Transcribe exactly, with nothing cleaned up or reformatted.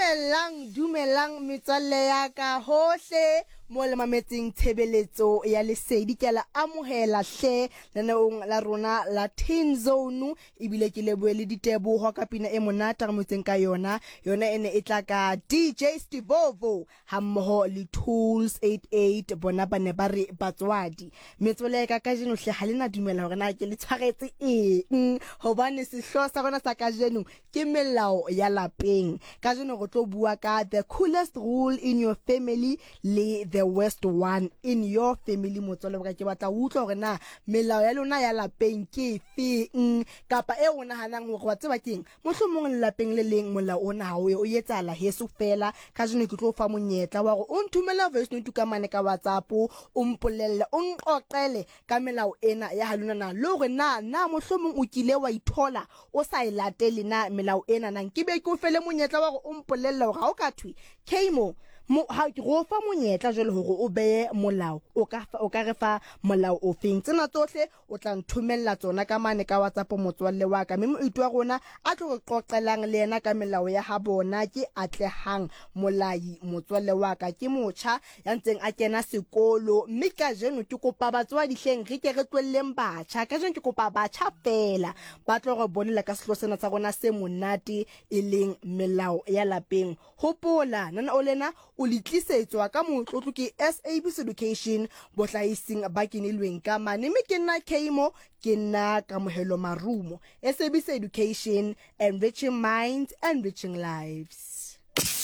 Dumelang, dumelang metswalle ya ka hohle mo le mametseng tshebeletso ya lesedi. Ke a le amohela hle lenaneong la rona la Teen Zone, ebile ke lebohe le diteboho ka pina e monate re motseng ka yona. Yona e ne e tla ka D J Stevovo hammoho le Tools eighty-eight, bona ba ne ba re batswadi. Metswalle ya ka kajeno hle ha le na dumela hore na ke le tshwaretse eng, hobane sehlooho sa rona sa kajeno ke melao ya lapeng. Kajeno re tlo bua ka the coolest rule in your family le the worst one in your family. Motswalle wa ka, ke batla ho utlwa hore na melao ya lona ya lapeng ke efeng, kapa e o nahanang hore wa tseba keng, mohlomong lelapeng le leng molao ona ha o ye o etsahala heso fela. Kajeno ke tlo fa monyetla wa hore o nthomele voice note ka mane ka WhatsApp, o mpolelle, o nqoqele ka melao ena ya ha lona na, le hore na na mohlomong o kile wa ithola o sa e latele na melao ena na. Nke be ke o fele monyetla wa hore o mpolelle hore ha o ka thwe Kmo, mo, ha ke go fa monyetla jwale hore o beye molao, o ka fa, o ka re fa molao o feng. Tsena tsohle o tla nthomella tsona ka mane ka WhatsApp motswalle wa ka, mme moeti wa rona a tlo re qoqelang le yena ka melao ya ha bona ke Atlehang Molai. Motswalle wa ka ke motjha ya ntseng a kena sekolo, mme kajeno ke kopa batswadi hleng re ke re tlohelleng batjha. Kajeno ke kopa batjha fela ba tlo re bolela ka sehlooho sena sa rona se monate e leng melao ya lapeng. Hopola nana o lena o le tlisetswa ka motlotlo ke S A B C Education bohlahising ba kenilweng ka mane, mme ke nna Kmo, ke nna Kamohelo Marumo. S A B C Education, enriching minds, enriching lives.